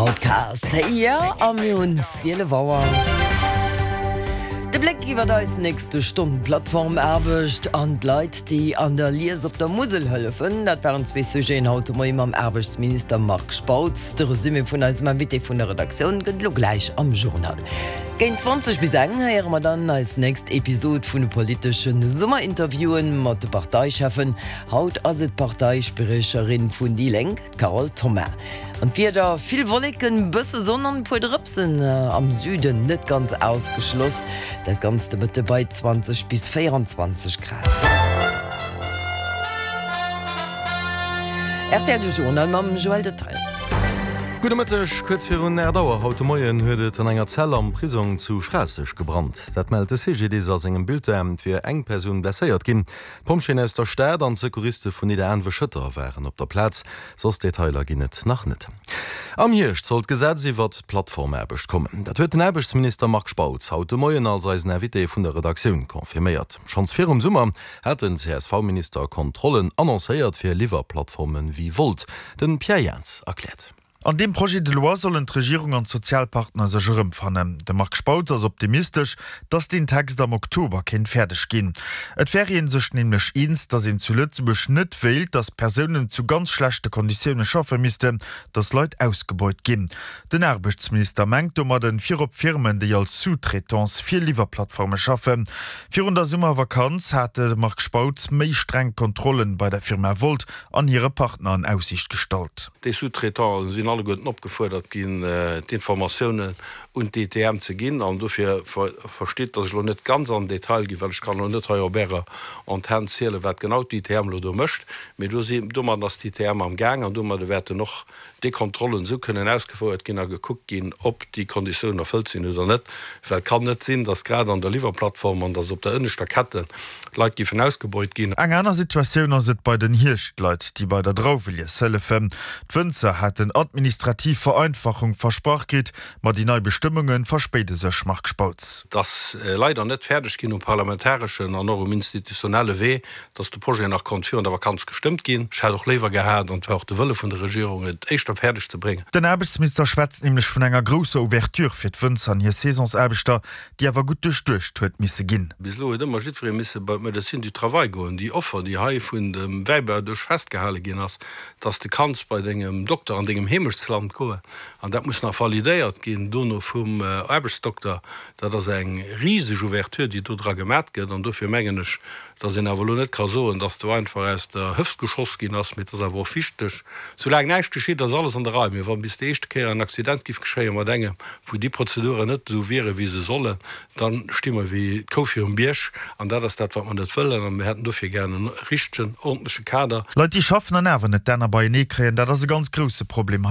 Outcast, jo, a mir hunn 12 Auer. De Bléck iwwer eis nächste Stonn, Plattformaarbecht an d'Leit, déi an der Lies op der Musel hëllefen, dat waren zwee Sujeten haut de Moie mam Aarbechtsminister Marc Spautz. De Resumé vun eisem Invité vun der Redaktioun gëtt elo gläich am Journal. Géint 20 bis eng héiere mer dann eis nächst Episod vun de politesche Summerinterviewen mat de Parteicheffen. Haut ass et d'Parteispriecherin vun déi Lénk, D'Carole Thoma. An d'Wieder, Vill Wolleken, bësse Sonn an e puer Drëpsen am Süden net ganz ausgeschloss. Dat Ganzt de Mëtte bei 20 bis 24 Grad. Rtl De Journal mam Joël Detaille. Gudde Mëtteg. Kuerz virun 8 Auer haut de Moien huet et an enger Zell am Prisong zu Schraasseg gebrannt. Dat mellt de CGDIS a sengem Bulletin. Et wier eng Persoun blesséiert ginn. D'Pompjeeën aus der Stad an d'Secouriste vun Nidderaanwe-Schëtter waren op der Plaz. Soss Detailer ginn et nach net. Am Hierscht soll d'Gesetz iwwert d'Plattformaarbecht kommen. Dat huet den Aarbechtsminister Marc Spautz haut de Moien als eisen Invité vun der Redaktioun confirméiert. Schonns virum Summer hat den CSV-Minister Kontrollen annoncéiert fir Liwwerplattforme wéi Wolt. De Pierre Jans erkläert. An deem Projet de loi sollen d'Regierung an d'Sozialpartner sech erëmfannen. De Marc Spautz ass optimistesch, datt deen Text am Oktober kéint fäerdeg ginn. Et wär ee sech nämlech eens, datt een zu Lëtzebuerg net wéilt, datt Persounen zu ganz schlechte Konditioune schaffe missten, datt Leit ausgebeut ginn. Den Aarbechtsminister mengt domadden virop Firmen, déi als Sous-traitance fir Liwwerplattforme schaffen. Virun der Summervakanz hat de Marc Spautz méi streng Kontrollen bei der Firma Wolt an hire Partner an Aussiicht gestallt. Déi Sous-traitante sinn alleguerten opgefuerdert ginn, d'Informatiounen un d'ITM ze ginn. An dofir verstitt, datt ech elo net ganz an den Detail ginn, well ech kann elo net hei op Ärer Antenn zielen, wat genau d'ITM elo do mécht. Mee do si, domadden ass d'ITM am Gaang an domadde wäerten och déi Kontrollen esou kënnen ausgefouert ginn a gekuckt ginn, ob déi Konditiounen erfëllt sinn oder net. Well et kann net sinn, datt grad an der Liwwerplattform an datt op der ënneschter Kette Leit géifen ausgebeut ginn. Eng aner Situatioun ass et bei den Hierschtleit, déi bei der Drauwelies hëllefen. D'Wënzer haten administrativ Vereinfachung versprach kritt, ma déi nei Bestëmmunge verspéide sech, Marc Spautz. Et ass leider net fäerdeg ginn um parlamentareschen an och um institutionelle Wee, dass de Projet nach konnt virun der Vakanz gestëmmt ginn. Ech hätt och léiwer gehat, an et war och de Wëlle vun der Regierung, et éischter fäerdeg ze bréngen. Den Aarbechtsminister schwätzt nämlech vun enger grousser Ouverture fir d'Wënzer an hir Saisonsaarbechter, déi awer gutt duerchduecht huet misse ginn. Bis elo huet ëmmer jiddweree misse bei d'Médecine du travail goen. Déi Offer, déi hei vun dem Wäibauduerch festgehale ginn ass, dass de kanns bei dengem Dokter an dengem Heemechtsland goen, an dat muss nach validéiert ginn dono vum Aarbechtsdokter, dat ass eng riseg Ouverture, déi do dra gemat gëtt. An dofir mengen ech, dass een awer elo net ka soen, dass do einfach aus der Hëft geschoss ginn ass, mee et ass awer och wichteg, soulaang näischt geschitt, ass alles an der Rei. Mee wa bis déi éischte Kéier en Accident giff geschéie mat engem, wou déi Prozeduren net esou wiere wéi se sollen, da sti mer wéi d'Kou virum Bierg. An dat ass dat, wat mer net wëllen. A mir hätten dofir gären en richtegen, ordentleche Kader. Leit, déi schaffen an awer net d'Enner beienee kréien, dat ass e ganz grousse Problem hei.